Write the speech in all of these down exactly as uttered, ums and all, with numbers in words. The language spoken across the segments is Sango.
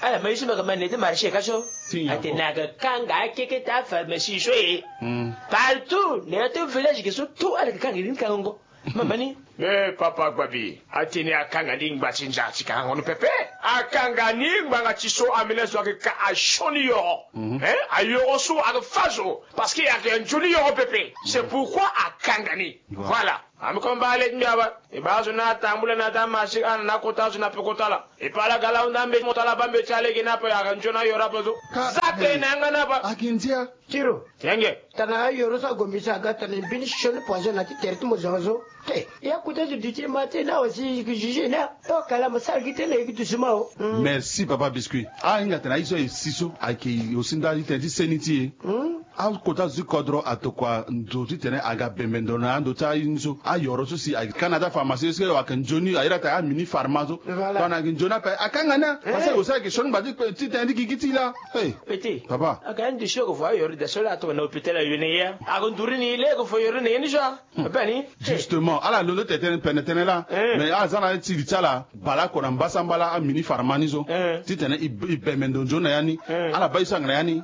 Ala ma ye so ma yeke ma na ya ti marché ka so. Atene ayeke kanga akeketa apharmacie so e. Partout na ya ti village ge so tout ala yeke kanga ni kangango. Mama ni. Me papa Gbabi, atene akanga ni ngba ti nza ti kangango ni pepe. Akanga ni ngbanga ti so ambeni azo ayeke ka asioni yoro. Ayoro so ayeke fâ zo. Parce que ayeke nzoni yoro pepe. C'est pourquoi akanga ni. Voilà. Ami koma baa le ti mbi aba. E baa azo ni atambula na ya ti amarché ana na akota azo na pekota ala. E paa ala ga laa hunda mbeti mo tala baa mbeti alege ni ape ayeke nzoni ayoro ape so. Za tene na yanga ni ape. Akindia. Tiro. Yenge. Tana ayoro so ago mbi so aga tana mbeni sioni poison na ti tere ti mo zo so. Te. Ya kota zo duti ma te na wasi juge na. Okala mo sara gi tënë gi doucement o. Merci papa Biscuit. Ahinga tena aye so aye si so ayeke aussi nda ti tene ti seni ti e. Akota zo ti kodro atokua ndo titene aga bembe ndo na ando ti aye ni so ayoro so si ayeke ka na ya ti apharmacie so ayeke nzoni aye ata amini pharma so. Tongana ayeke nzoni ape akanga ni a. Parce que aussi ayeke sioni ngba ti tene ti gigi ti e laa. Papa. Aga ndo so ayeke vo ayoro daa so laa atokua na hôpital ayo na ye. Ayeke nduru ni laa ayeke vo yoro na ye ni so a. Bani. Justement ala londo tene tënë pene tënë laa. Mais ala za na ya ti li ti ala baleoko na mbasambala amini pharma ni so. Titene e bembe ndo nzoni na ya ni. Ala baa ye so ayeke na ya ni.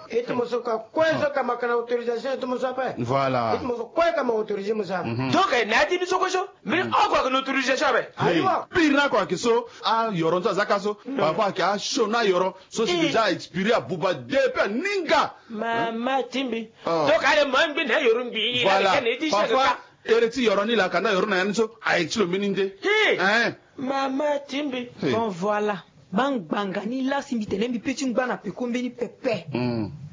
E ti mo so ka kue so ka ma ka na autorisation e ti mo so ape. Voilà. E ti mo so kue ka ma autorisé mo so ape. Donc na ya ti mbi so kue so mbeni oko ayeke na autorisation ape. Ayiwa. Pire ni ako ayeke so. Ayoro ni so aza ka so. Parfois ayeke asioni ayoro so si déjà expiré abuba depuis aninga. Mama ti mbi. Donc ale ma ngbi na yoro ngbi. Voilà. Parfois ere ti yoro ni laa ka nda yoro na ya ni so aye ti lo mbeni nde. Mama ti mbi. Bon voilà. Bangbanga ni laa si mbi tene mbi pe ti ngba na peko mbeni pepe.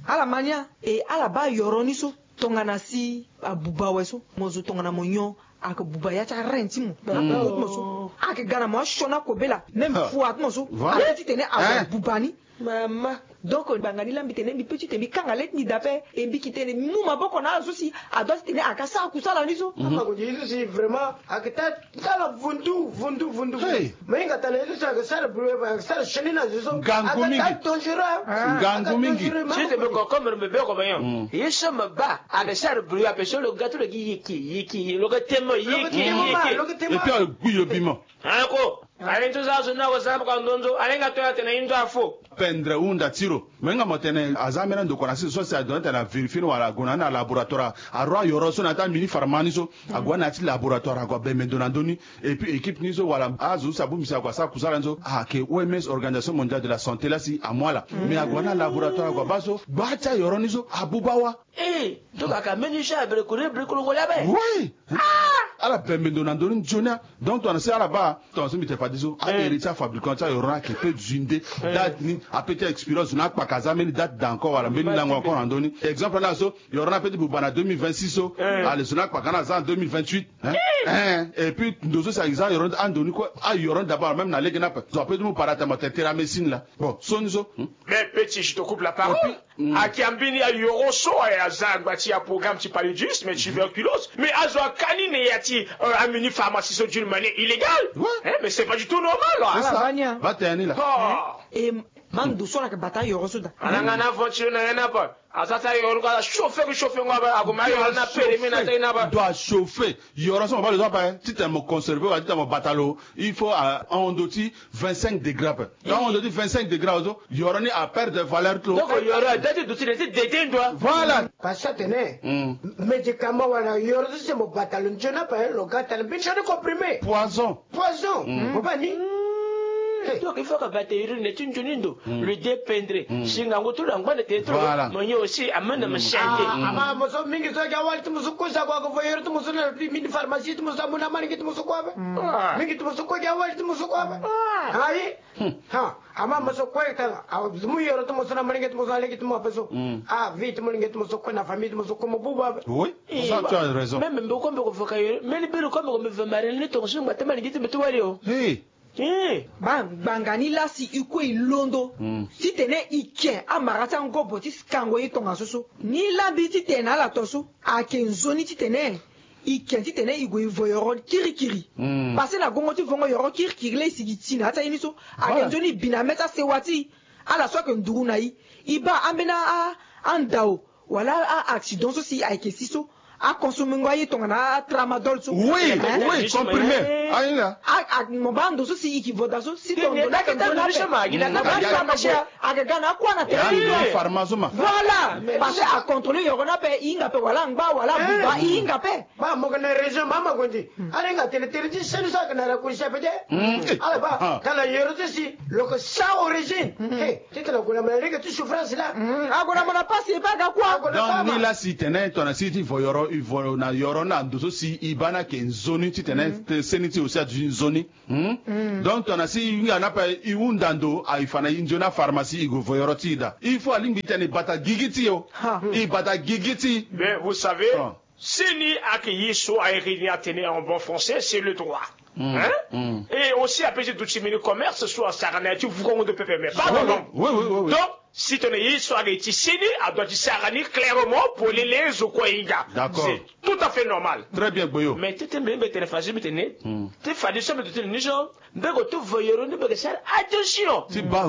Ala ma ni a. E ala baa yoro ni so tongana si abuba awe so mo zo tongana mo nyon. Ayeke buba ya ti arein ti mo. Abuba ti mo so ayeke ga na mo asioni akobela. Même foi ti mo so aye titene abuba ni. Mama. Donc ngbanga ni laa mbi tene mbi pe titene mbi kanga le ti mbi daa ape. E mbi yeke tene mu maboko na ala so si adua titene ayeke asara kusala ni so. Afa ko di ye so si vraiment ayeke taa tala vundu vundu vundu. Me hinga tala ye so si ayeke sara bulu ayeke sara sioni na zo so. Ngangu mingi. Ngangu mingi. Si te be concombre mbi be ko me nyon ye so me baa. Ayeke sara bulu ape so lo ga ti lo gi yiki yiki lo ga temo yiki yiki. Et puis ayeke gbi lo bima. Ako. Aye nzo za zo na wasa ka ndonzo alenga to ya tene inzo afo. Pendre hunda ti lo. Me nga mo tene aza ambeni andokua na si so si adoit tene avérifier ni wala ague na ni na laboratoire. Aroi ayoro so na ya ti amini pharma ni so. Ague na ya ti laboratoire ague abembe ndo na ndö ni. Et puis équipe ni so wala azo so si abongbi si ague asara kusala ni so ayeke O M S, Organisation Mondiale de la Santé laa si amu ala. Mais ague na laboratoire ague abaa so gbaa ti ayoro ni so abuba wa. Eh, donc aka mbeni so abere kore bere koro ngole abe. Oui. Ala bembe ndo na ndö ni nzoni a. Donc tongana si ala baa tongana so mbi tene fade so ahere ti afabricant ti ayoro ni ayeke pe zui nde. Date ni ape ti expiré zo ni akpaka aza mbeni date daa encore wala mbeni lango encore na ndö ni. Exemple ni azo yoro ni ape ti buba na deux mille vingt-six so. Ale zo ni akpaka ni aza na deux mille vingt-huit. Et puis ndo so si aza yoro ni ando ni kue ayoro ni d'abord même na lege ni ape zo ape ti mu para tama tene tera médecine laa. Bon so ni so. Mais petit, je te coupe la parole. Ayeke ambeni ayoro so aye aza angba ti aprogramme ti paludisme, tuberculose. Mais azo aka ni na ya ti amini pharmacie so d'une manière illégale. Mais c'est pas du tout normal. Ba tene ni laa. E ma ndo so ala yeke bata ayoro so daa. Ala nga na ventilo na ya ni ape. Aza ti ayoro ni kue ala chauffer ke chauffer ngo ape. Ague ma ayoro ni na pere mi na ta ye ni ape. Ndo achauffer. Yoro so mo baa lo so ape titene mo conserver wala titene mo bata lo. Il faut ahon ndo ti vingt-cinq degrés ape. Ahon ndo ti vingt-cinq degrés azo yoro ni aperdre valeur ti lo. Donc yoro ada ti duti na ti dede ndo. Voilà. Parce que atene médicament wala yoro so si mo bata lo nzoni ape lo ga tala mbeni sioni comprimé. Poison. Poison. Mo baa ni. Donc il faut ka bata yoro ni na ti nzoni ndo. Lo dépendre si ngangu ti lo angba na tere ti lo. Mo nyon aussi amene mo sente. Ama mo so mingi so aga wali ti mo so kosa kua ko vo yoro ti mo so na mini pharmacie ti mo so amu na malenge ti mo so kua ape. Mingi ti mo so kue ga wali ti mo so kua ape. Ayi. Ha ama mo so kue tala amu yoro ti mo so na malenge ti mo so na lege ti mo ape so. Ah vie ti mo lenge ti mo so kue na famille ti mo so kue mo bubu ape. Oui. Même mbi ko mbi ko vo ka yoro mbeni biri ko mbi ko mbi vo mari ni tongo so ngba ti malenge ti mbi ti wali o. Bangbanga ni laa si e kue e londo titene e ke amara ti angobo ti kango ye tongaso so. Ni laa mbi titene na ala to so ayeke nzoni titene e ke titene e gue e vo yoro kirikiri. Pase na gongo ti vongo yoro kirikiri laa e sigi ti na ya ti aye ni so ayeke nzoni e bi na mê ti asewa ti e. Ala so ayeke nduru na e e baa ambeni andao wala a-accident so si ayeke si so. Aconsomengo aye tongana atramadol so. Oui, oui, comprimé. Ahinga. Mo baa ndo so si i ki vo daa so si tongo na ke ndo na pe. Ayeke ga na akua na tere ni. Pharma so ma. Voilà. Parce que acontrôler yoro ni ape, i hinga pe wala angba wala abuba, i hinga pe. Ba mo ga na région ma ma gondi. Ala hinga tene tere ti seni so ayeke na rakurisi ape te. Ala ba tala yoro ti si lo yeke sans origine. Titene ague na mo na lege ti souffrance laa. Ague na mo na pasi e pe aga kuâ. Donc ni laa si tene tongana si ti vo yoro, i vo na yoro na ndo so si i baa ni ayeke nzoni titene seni ti e aussi aduti nzoni. Donc tongana si i hinga ni ape i hunda ndo, i fa na i nzoni apharmacie i gue vo yoro ti i daa. Il faut alingbi titene i bata gigi ti i o. I bata gigi ti i. Mais vous savez, seni ayeke ye so ayeke ni atene en bon français, c'est le droit. Hein? Et aussi ape ti duti mbeni commerce so asara na ya ti vukongo ndo pepe, mais pas dans l'ombre. Donc si tongana ye so ayeke ti seni, adoit ti sara ni clairement polele zo kue ahinga. D'accord. C'est tout à fait normal. Très bien, Gboyo. Mais ti ti mbi mbi tene fade so mbi tene, ti fade so mbi tene ni so, mbi yeke ti vo yoro ni, mbi yeke sara attention. Ti baa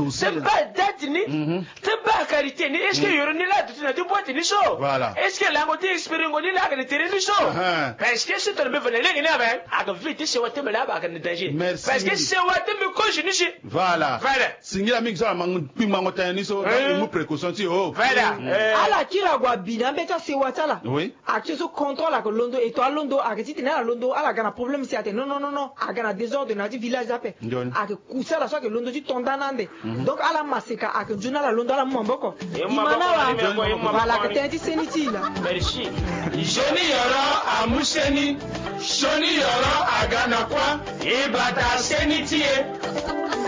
date ni. Ti baa qualité ni. Est-ce que yoro ni laa aduti na ti boîte ni so? Voilà. Est-ce que lango ti expiringo ni laa ayeke na tere ni so? Parce que si tongana mbi vo na lege ni ape, ayeke vie ti sewa ti mbi laa ape ayeke na danger. Merci. Parce que sewa ti mbi kozo ni si. Voilà. Voilà. Singila mingi so ala mango kpingbango tënë ni so, donc i mu précaution ti e o. Voilà. Ala kiri ague abi na ambeti asewa ti ala. Oui. Ayeke ti so contrôle ayeke londo, e to alondo ayeke titene ala londo, ala ga na problème si atene non non non non, aga na désordre na ya ti village ape. Ayeke kusala so ayeke londo ti to nda na ande. Donc ala maseka ayeke nzoni ala londo, ala mu maboko. Di mana wa. Voilà, ayeke tënë ti seni ti e laa. Merci. Nzoni yoro amu seni. Sioni yoro aga na kuâ. E bata seni ti e.